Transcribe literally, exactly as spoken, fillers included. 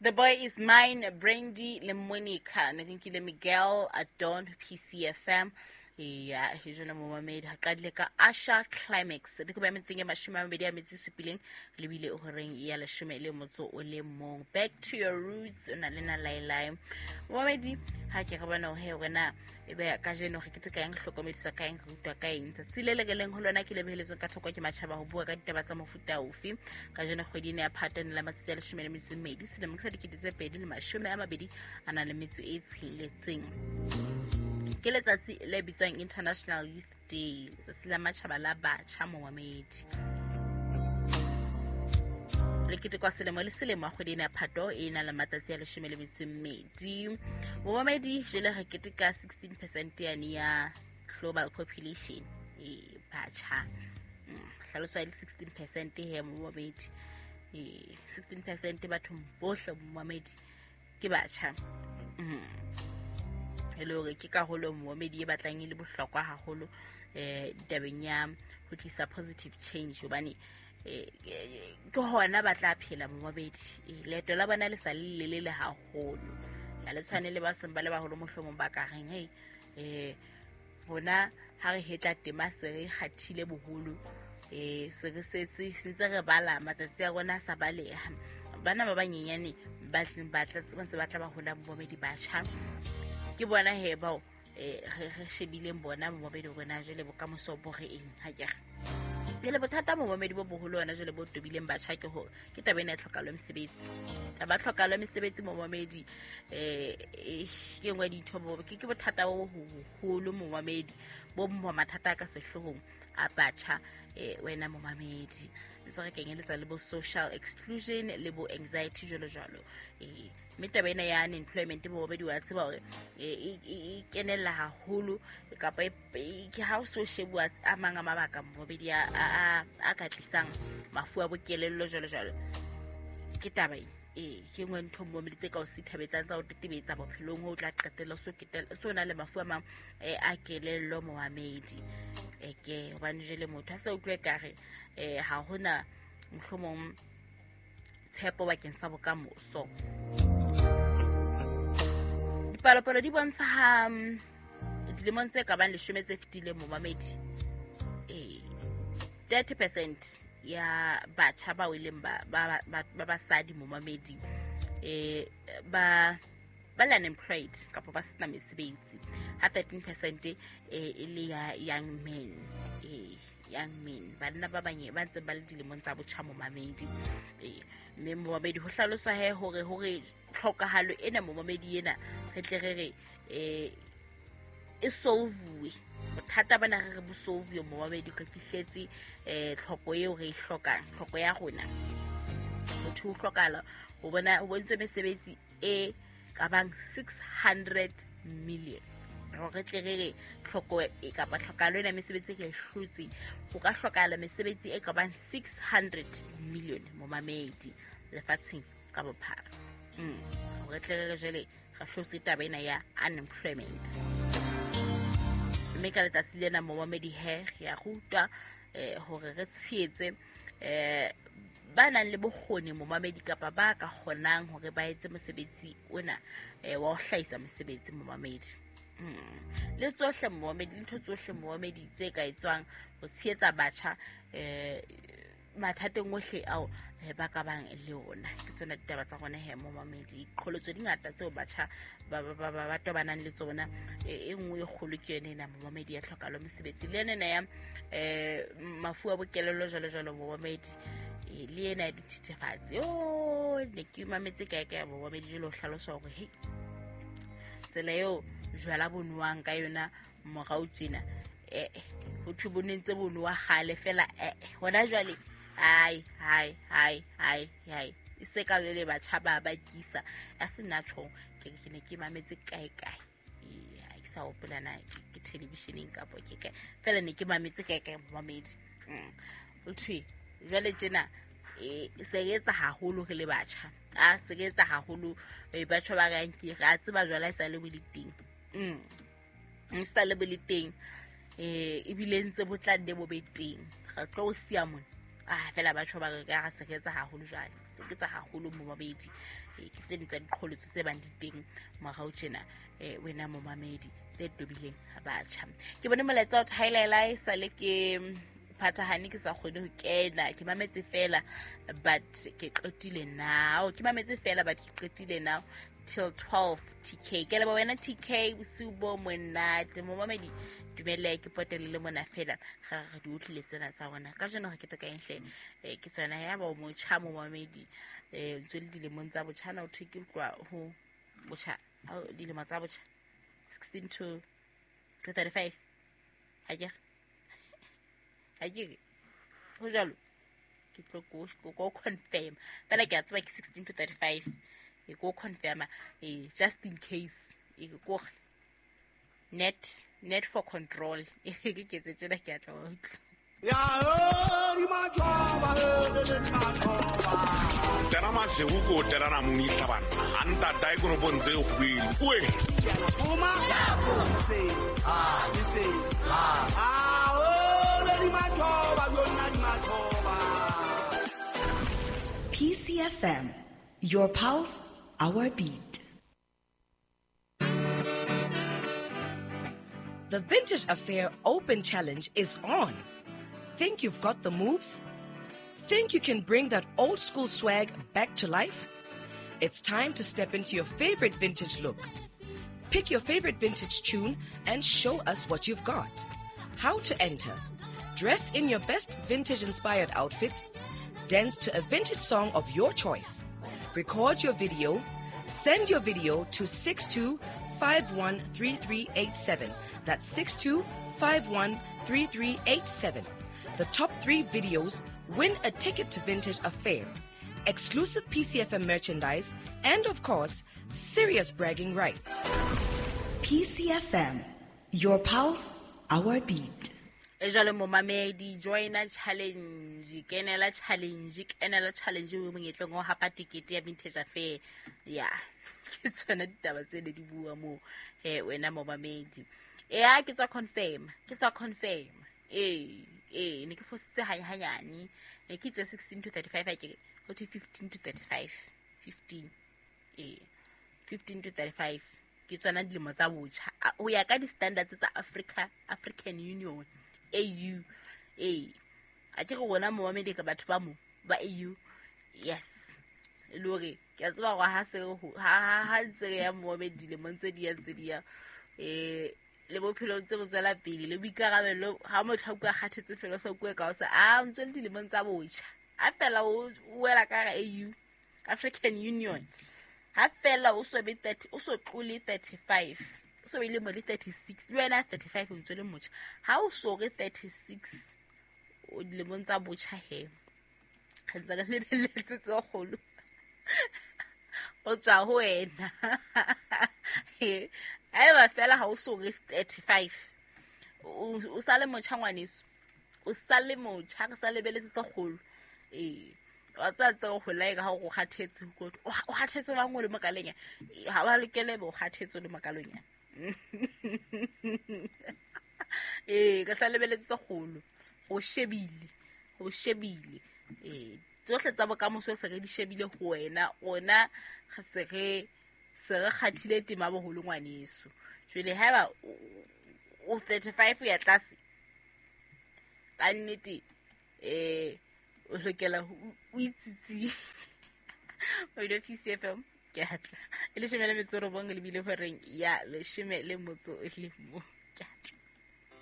The Boy Is Mine, Brandy le Monica, ne re nkile Miguel Adon P C F M ya hejona momamedi ha qadile ka Asha Climax di ko ba metseng e mashome a mabedi a metso e supileng lebile o horeng ya leshome le motso o le mong. Back to your roots, o na le na lailai momamedi ha ke re bona he wena e be kajeno re keteka eng, hlokomedisa ka eng, re rutwa ka eng tsatsi le le leng ho lona ke lebeheletsweng ka thoko ke matjhaba ho bua ka ditaba tsa mofuta ofe. Kajeno kgwedi ena ya Phato la matsatsi a leshome le metso e mmedi selemong sa dikete tse pedi le mashome a mabedi a nang le metso e tsheletseng ke letsatsi le bitswang International Youth Day, letsatsi la matjhaba la batjha momamedi. Le ketekwa selemo le selemo kgwedi ena ya Phato e na le matsatsi a leshome le metso e mmedi momamedi. Jele re keteka sixteen percent yane ya global population e batjha. Mm, hlaloswa e le sixteen percent he momamedi. E sixteen percent bathong bohle momamedi ke batjha. Mm. E le hore ke karolo momamedi e batlang e le bohlokwa haholo eh ditabeng ya ho tlisa positive change hobane eh, ke hona ba tla phela momamedi. Eh, leeto la bona le sa le lelele haholo ha le tshwane le ba seng ba le baholo mohlomong ba ka reng hei eh rona ha re hetla tema se re kgathile boholo eh se re setse se ntse re bala matsatsi a rona a sa baleha. Bana ba banyenyane ba tleng ba tla ba ntse ba tla ba hola momamedi batjha ke bona he bao eh re re shebileng bona momamedi rona jwale bokamoso bo re eng ha ke re jwale bothata momamedi bo boholo hona jwale bo tobileng batjha ke hore ke taba ena ya tlhokahalo ya mesebetsi. Taba ya tlhokahalo ya mesebetsi momamedi eh eh, ke nngwe ya dintho bo ke ke bothata bo boholo momamedi bo mo mathata a ka sehloohong a batjha eh wena momamedi ntse re kenyeletsa le bo social exclusion le bo anxiety jwalo jwalo eh mme taba ena ya unemployment momamedi wa tseba hore eh, e e- e kenella haholo kapa e- e- ke ha o so shebuwa a mang a mabaka momamedi a a- a ka tlisang mafu a bokelello jwalo jwalo ke taba ena ee ke nngwe ntho momamedi tse ka o sithabetsang tsa ho tetebetsa bophelong ho o tla qetella o so ketela- so na le mafu a mang eh, a kelello momamedi eke hobane jwale motho a sa utlwe kare um ha hona mohlomong tshepo bakeng sa bokamoso. Dipalopalo di bontsha ha mm, dilemong tse ka bang leshome tse fetileng momamedi ee thirty percent ya batjha bao e leng ba ba- ba- ba basadi momamedi eh ba ba le unemployed kapa ba sena mesebetsi ha thirteen percent eh, e le ya young men eh young men banna ba banye ba ntseng ba le dilemong tsa botjha momamedi eh mme momamedi ho hlaloswa he hore hore tlhokahalo ena momamedi ena re tle re re eh e solvuwe bothata bana re re bo solvuwe momamedi re fihletse eh tlhoko eo re e hlokang tlhoko ya rona motho o hlokahala ho bona ho bontswe mesebetsi e ka bang six hundred million hore re tle re re tlhoko e kapa tlhokahalo ena ya mesebetsi re e hlotse ho ka hlokahala mesebetsi e ka bang six hundred million momamedi lefatsheng ka bophara mm. hore tle re re jwale re hlotse taba ena ya unemployment. Mme ka letsatsi lena momamedi he re ya rutwa eh, hore re tshehetse eh, ba nang le bokgoni momamedi kapa ba ka kgonang hore ba etse mosebetsi ona eh, wa ho hlahisa mosebetsi momamedi mm. le tsohle momamedi le ntho tsohle momamedi tse ka etswang ho tshehetsa batjha eh, mathateng ohle ao eh, ba ka bang le ona ke tsona ditaba tsa rona he momamedi. Qholotso di ngata tseo batjha ba ba- ba ba- ba tobanang le tsona e e nngwe e kgolo ke yone ena momamedi ya tlhokahalo mesebetsi le yone ena ya um mafu a bokelello jwalo jwalo momamedi eh, le ena ya dithethefatsi o ne ke mametse kae kae momamedi jwale ho hlalosa hore hei tsela eo jwala bo nowang ka yona morao tjena eh ho thwe bo ne ntse bo nowa kgale fela eh hona jwale hai hai hai hai hai e se ka jwale batjha ba bakisa ya se nna tjhong ke ke ne ke mametse kae kae. Ee, ha ke sa hopola na ke ke televisioneng kapo ke kae fela ne ke mametse kae kae momamedi. Mm. ho thwe jwale tjena e se re etsa haholo re le batjha a se re etsa haholo eh, batjha ba reng ke re a tseba jwala e sa le bo le teng mm e sa le bo le teng eh ebile ntse bo tla nne bo be teng re tlo o siya mona ah fela batjha ba re ka re se re etsa haholo jwale. Ke tsa haholo momamedi. Ke tse ding tsa diqholotso tse bang di teng morao tjena, eh wena momamedi, tse tobileng batjha. Ke bone molaetsa o thailela e sale ke phathahane, ke sa kgone ho kena, ke mametse fela but ke qetile now, ke mametse fela but ke qetile now till twelve. T K, ke leboha wena T K, bosiu bo monate momamedi. Dumelle ke potele le mona fela ga re di utlwile tsena tsa rona ka jeno. Re keteka eng hle? Eh, ke tsona ya ba o motjha momamedi, eh ntse le dilemong tsa botjha na o thwe ke utlwa ho botjha, ha dilemo tsa botjha sixteen to to thirty-five, ha ke ha ke re ho jwalo, ke tlo ko ko confirm fela, ke a tseba ke sixteen to thirty-five, e ko confirma, eh just in case, e ko net net for control, e ke ke tse tsena, ke a tla wa utlwa. Ya di majoba le majoba. Tera masego ko terana mongihla bana a ntata e konopong tse kgwele oe. Fuma se ah se ah o le di majoba yona di majoba. P C F M, your pulse, our beat. The Vintage Affair Open Challenge is on. Think you've got the moves? Think you can bring that old school swag back to life? It's time to step into your favorite vintage look. Pick your favorite vintage tune and show us what you've got. How to enter? Dress in your best vintage inspired outfit, dance to a vintage song of your choice, record your video, send your video to six two five one three three eight seven. That's six two five one three three eight seven. The top three videos win a ticket to Vintage Affair, exclusive P C F M merchandise, and of course, serious bragging rights. P C F M, your pulse, our beat. E jwale momamedi, joina challenge, kenela challenge, kenela challenge o monyetleng o hapa tikete ya Vintage Affair. Ya, ke tsona ditaba tse ne di bua moo he wena momamedi. Ya, ke tswa confirm, ke tswa confirm, ee ee ne ke fositse hanyane, ne ke itse sixteen to thirty-five, ha ke ho thwe fifteen to thirty-five, fifteen, ee, fifteen to thirty-five ke tsona dilemo tsa botjha ho ya ka di-standards tsa Africa, African Union, A U. Ee, a ke re rona momamedi ka batho ba mo ba A U. Yes, e le hore ke a tseba hore ha se ha ha ntse re ya momamedi, dilemong tse di ya ntse di ya, eh le bophelo ntse bo tswela pele le boikarabelo. Ha motho a bua kgathetse fela, o sa bue ka o sa a ntse le dilemong tsa botjha, ha fela o wela ka hara A U, African Union, ha fela o so be thirty, o so tlole thirty-five, o so be le mo le thirty-six, le wena thirty-five o ntse le motjha, ha o so re thirty-six o dilemong tsa botjha. He, re ntse re lebelletse tse kgolo o tswa ho wena. Haeba fela ha o so re thirty-five, o sa le motjha ngwaneso, o sa le motjha, re sa lebelletse tse kgolo. Ee, wa tseba tse go hola ka ha o kgathetse, o kgathetse bang o le mokaleng, ha wa lokele be o kgathetse o le mokaleng. Ee, ka sa lebelletse tse kgolo, go shebile, go shebile, ee, tsohle tsa bokamoso se re di shebile ho wena. Rona re se re se re kgathile tema boholo ngwaneso. Jwale haeba o thirty-five ya tlase, ka nnete eh o lokela o itsitsi o P C F M. Ke atla e leshome le metso robong lebile horeng ya leshome le motso le mo. Ke atla.